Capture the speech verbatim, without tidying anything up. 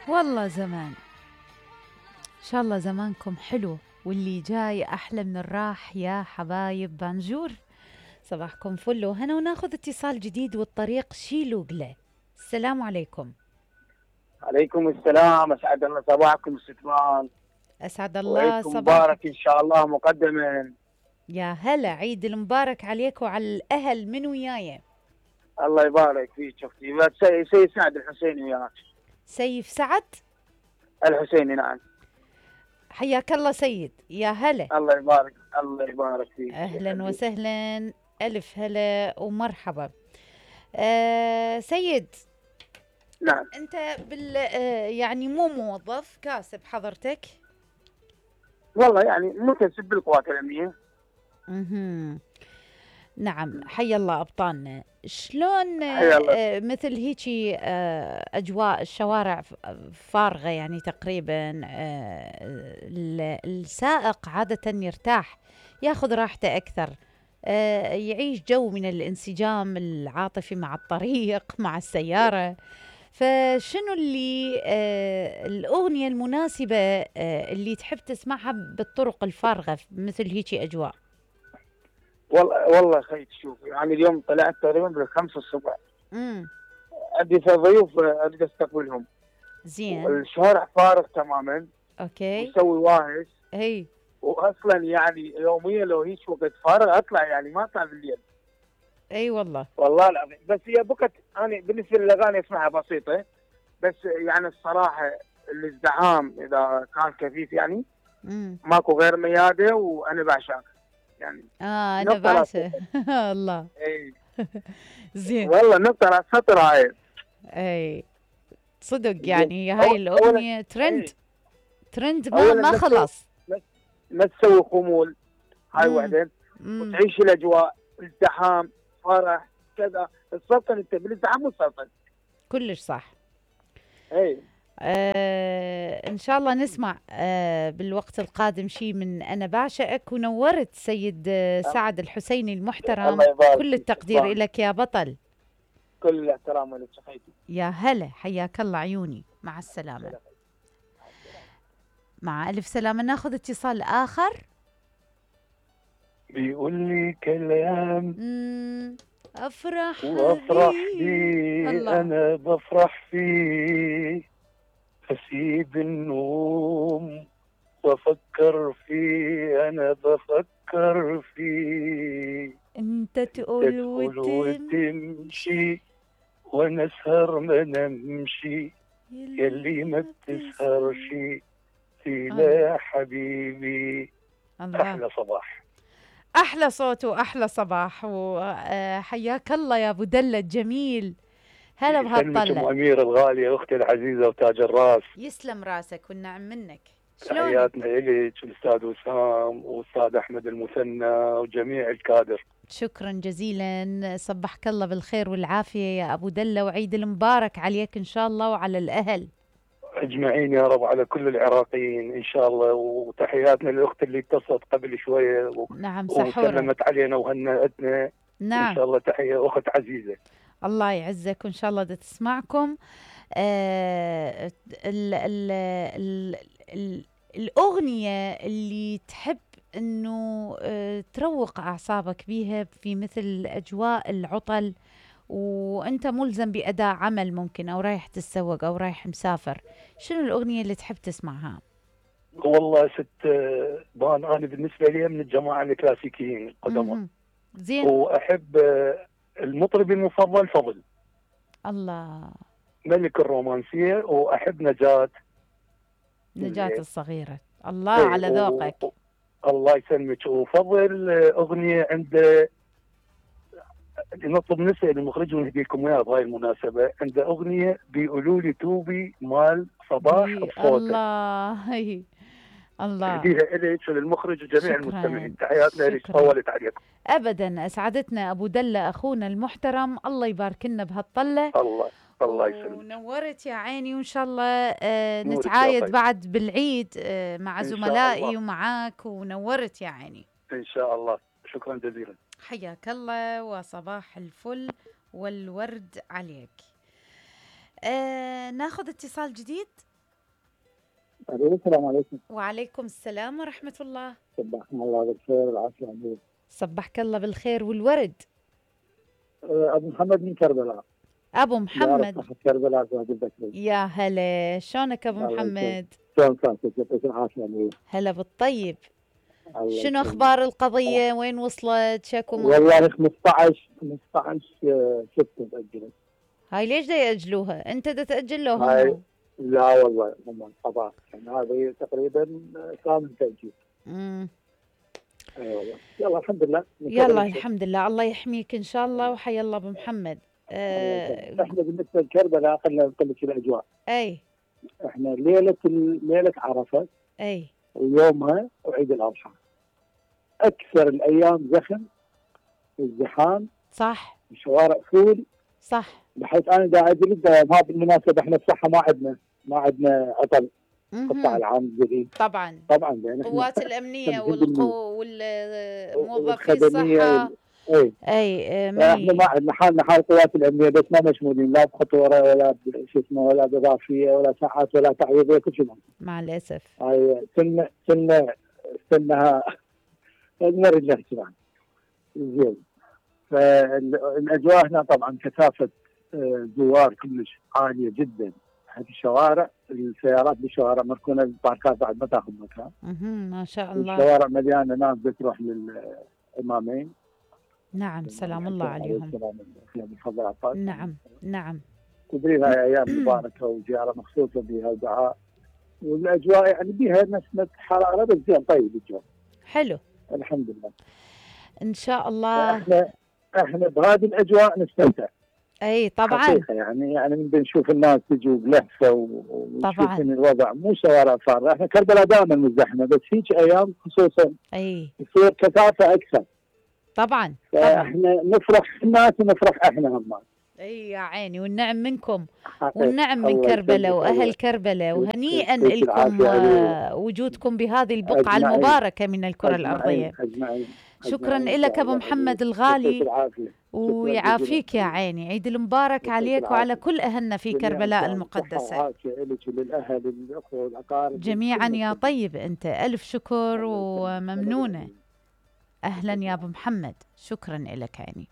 والله زمان، إن شاء الله زمانكم حلو واللي جاي أحلى من الراح يا حبايب بانجور. صباحكم فل وهنا، وناخذ اتصال جديد والطريق شيلو قله. السلام عليكم. عليكم السلام، أسعد الله صباحكم ستمان، أسعد الله وعيدكم مبارك إن صباحك. شاء الله مقدما. يا هلا، عيد المبارك عليك وعلى الأهل من وياي. الله يبارك فيك. شفتي سي سي سعد الحسيني وياك. سيف سعد الحسيني نعم. حياك الله سيد، يا هلا. الله يبارك الله يبارك فيك. أهلا وسهلا، ألف هلا ومرحبا. آه سيد، نعم. أنت بال آه يعني مو موظف، كاسب حضرتك؟ والله يعني مكتسب بالقوات الأمنية. اها نعم، حي الله أبطالنا. شلون حيا الله. آه مثل هيجي آه أجواء الشوارع ف- فارغة يعني تقريبا، آه ال- السائق عادة يرتاح، ياخذ راحته أكثر، آه يعيش جو من الانسجام العاطفي مع الطريق مع السيارة. فشنو اللي آه الأغنية المناسبة آه اللي تحب تسمعها بالطرق الفارغة مثل هيجي أجواء؟ والله والله خير، شوف يعني اليوم طلعت تقريبا بالخمسة الصبح. امم عندي في ضيوف أريد أستقبلهم. زين. الشارع فارغ تماما. اوكي. ويسوي واهش. هي. واصلا يعني يوميا لو هيك وقت فارغ اطلع، يعني ما اطلع بالليل. اي والله. والله العظيم، بس هي بكت انا بالنسبه للاغاني اسمعها بسيطه، بس يعني الصراحه الازدحام اذا كان كثيف يعني امم ماكو غير مياده، وانا بعشق يعني. اه انا نقطه راس بعشق. سطر. الله. اي زين. والله نقطه راس سطر هاي. اي صدق، زين. يعني هاي أو- اولا الاغنيه ترند. اي ترند ما اولا ما ما تسوي خلص. ما تسوي خمول. هاي امم وحده. امم وتعيش الاجواء، ازدحام، فرح، كذا. السلطنه انت بالازدحام والسلطنه. كلش صح. اي آه ان شاء الله نسمع آه بالوقت القادم شيء من انا بعشقك. ونورت سيد آه سعد الحسيني المحترم، الله يبارك كل فيك التقدير شكراً. لك يا بطل. كل الاحترام لك شخيتي. يا هلا، حياك الله عيوني، مع السلامه. مع ألف سلامة. ناخذ اتصال آخر. بيقول لي كلام مم. أفرح وافرح فيه. بيه، الله. انا بفرح فيه، اسيب النوم وافكر فيه، انا بفكر فيه. أنت تقول تدخل وتمشي وتمشي وانا اسهر ما نمشي، يلي ما بتسهرش فينا يا حبيبي. الله. احلى صباح. أحلى صوت وأحلى صباح، وحياك الله يا أبو دلة الجميل. هلا يسلمك ام بهالطلة. اميره الغاليه، اختي العزيزه وتاج الراس. يسلم راسك والنعم منك. شلونك؟ تحياتنا إليك الأستاذ وسام والأستاذ أحمد المثنى وجميع الكادر. شكرا جزيلا، صبحك الله بالخير والعافية يا أبو دلة، وعيد المبارك عليك إن شاء الله وعلى الأهل أجمعين يا رب، على كل العراقيين إن شاء الله. وتحياتنا للأخت اللي اتصلت قبل شوية و... نعم سحورة. وسلمت علينا وهنأتنا. نعم إن شاء الله تحية أخت عزيزة. الله يعزك، وإن شاء الله دا تسمعكم. آه ال ال ال ال الأغنية اللي تحب أنه آه تروق أعصابك بيها في مثل أجواء العطل، وأنت ملزم بأداء عمل ممكن، أو رايح تتسوق أو رايح مسافر، شنو الأغنية اللي تحب تسمعها؟ والله ست بان، أنا بالنسبة لي من الجماعة الكلاسيكيين القدماء. مهم. زين. وأحب المطرب المفضل فضل الله. ملك الرومانسية، وأحب نجاة. نجاة الصغيرة. الله على ذوقك. و... الله يسلمك. وفضل أغنية عنده، نطلب نسأل المخرج ونهدي لكم اياها بهاي المناسبة. عنده أغنية بيقولوا لي توبي مال صباح بي بصوته. الله. هي. الله. اهديها إليك وللمخرج وجميع شكراً. المستمعين. تحياتنا لك، شكراً. طولت عليكم. ابدا، اسعدتنا ابو دله اخونا المحترم، الله يبارك لنا بهالطله. الله الله يسلمك. ونورت يا عيني، وان شاء الله آه نورك يا نتعايد طيب. بعد بالعيد آه مع إن شاء زملائي الله. ومعاك، ونورت يا عيني. إن شاء الله. شكرا جزيلا. حياك الله وصباح الفل والورد عليك. آه ناخذ اتصال جديد. الو السلام عليكم. وعليكم السلام ورحمة الله. صبحنا الله بالخير والعافيه عليك. صبحك الله بالخير والورد. آه، ابو محمد من كربلاء. أبو بعرف محمد. صاحب كربلاء زاد البكري. يا هلا، شلونك أبو الله يسلمك. محمد؟ شلون صحتك؟ يعطيك العافيه عليك. هلا بالطيب. الله شنو يسلمك. أخبار القضية؟ وين وصلت؟ شكو م- والله خمسطعش خمسطعش ستة تأجلت. هاي ليش دا يأجلوها؟ أنت دا تأجل لهم؟ هاي لا والله هم القضاء يعني هذه تقريبا كامل تأجيل. مم. اي والله يلا الحمد لله. يلا الحمد لله، الله يحميك إن شاء الله. وحيا الله أبو محمد. آه. آه. احنا بالنسبه لكربلاء خلينا نقول لك الاجواء. أي احنا ليله ليله عرفه أي ويومها وعيد الاضحى اكثر الايام زخم وازدحام، صح الشوارع فول، صح. بحيث انا دا اجلس ما بالمناسبه احنا الصحه ما عندنا ما عندنا عطل قطاع مهم. العام الجديد طبعا طبعا لان احنا القوات الأمنية خمسين بالمية. والقو والموظفي والخدميه الصحة. وال... اي أي آه، احنا مي ما عندنا حالنا حال القوات الامنيه بس ما مشمولين لا بخطوره ولا شو اسمه ولا باضافيه ولا ساعات ولا تعويضيه كل شيء. مع الأسف. هاي سنه سنه سنها نرد نحكي عنها زين. فالاجواء هنا طبعا كثافه آه، زوار كلش عاليه جدا، حتى الشوارع السيارات بالشوارع مركونه، الباركات بعد ما تاخذ مكان. مهم. ما شاء الله. الشوارع مليانه ناس بتروح للامامين. نعم سلام الله عليهم. السلام عليكم بفضل عباس. نعم نعم. تدري هاي ايام مباركه وزياره مخصوصه بها ودعاء، والاجواء يعني بها نسمه حراره بس زين طيب الجو. حلو الحمد لله. إن شاء الله. احنا احنا بهذه الاجواء نستمتع. أي طبعا حقيقة يعني يعني من بنشوف الناس تجي بلهفه ونشوف ان الوضع مو شوارع فارغه، احنا كربلاء دائما مزدحمه بس هيك ايام خصوصا أي يصير كثافه اكثر. طبعا طبعا. فاحنا نفرح الناس ونفرح احنا هم. اي يا عيني، والنعم منكم حقيقة. والنعم من الله كربلاء يسلمك. واهل الله كربلاء، وهنيئا يعطيك لكم العافية آه، وجودكم بهذه البقعة أجمعين. المباركة من الكرة أجمعين. الأرضية. أجمعين. شكرا أجمعين. لك أبو الله محمد يعافيك. الغالي، يعطيك العافية. شكراً ويعافيك جزيلاً. يا عيني. عيد المبارك يعطيك عليك وعلى العافية. كل أهلنا في جميعاً كربلاء صحة المقدسة وعافية لك وللأهل والأخوة والأقارب جميعا كل يا الناس. طيب. أنت ألف شكر الله يسلمك. وممنونة. أهلا يا أبو محمد، شكرا لك عيني.